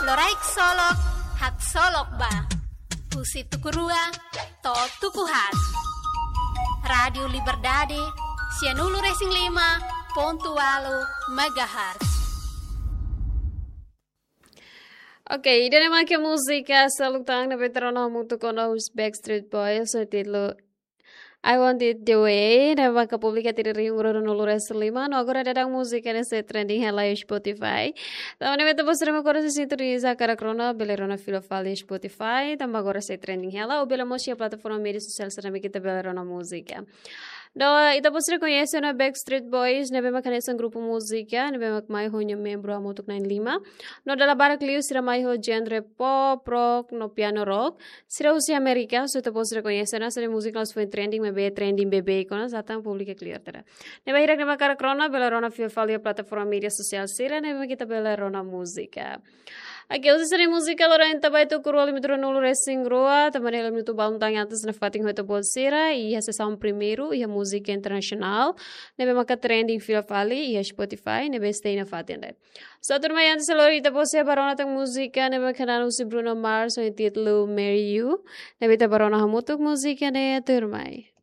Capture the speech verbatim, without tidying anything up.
Loraik solok, haksolok ba. Husi tuku rua to'o tuku haat. Rádiu Liberdade, sianulu-resin-lima pontu ualu megahertz. Oke, ida-ne'e mak múzika Seluk Tan ne'ebé ita rona hamutuk ho Backstreet Boys, ho títulu I Want It That Way, ne'ebé mak publika tiha iha rihun rua ruanulu-resin-lima, no agora daudaun múzika ne'e sei trending hela iha Spotify. Tanba ne'e ita-boot sira mak agora sei sintoniza hakarak rona, bele rona fila fali iha Spotify, tanba agora sei trending hela, ou bele mós iha plataforma média sosiál sira ne'ebé ita bele rona múzika. No ita-boot sira koñese ona Backstreet Boys, ne'ebé mak hanesan grupu múzika, ne'ebé mak mai ho nia membru hamutuk na'in-lima. No dala barak liu sira mai ho genre pop, rock, no piano rock. Sira husi Amérika, so ita-boot sira koñese ona, sira múzika la'ós foin trending, maibé trending beibeik ona, já tan publika clear tera. Ne'ebé hirak ne'ebé mak hakarak rona, bele rona fila fali iha plataforma média sosiál sira, ne'ebé mak ita bele rona múzika. Oke, husi sira-nia múzika loron ita ba iha tuku rua limit ruanulu-resin-rua, tanba ne'e hela minutu balun tan antes nafatin ho ita-boot sira, iha sesaun primeiru, iha múzika internasionál, ne'ebé maka trending fila fali, iha Spotify, ne'ebé stay nafatin de'it. So, tuirmai antes lori ita-boot sira ba rona tan múzika, ne'ebé maka hanesan husi Bruno Mars, ho títulu Marry You, ne'ebé ita ba rona hamutuk múzika ne'e tuirmai.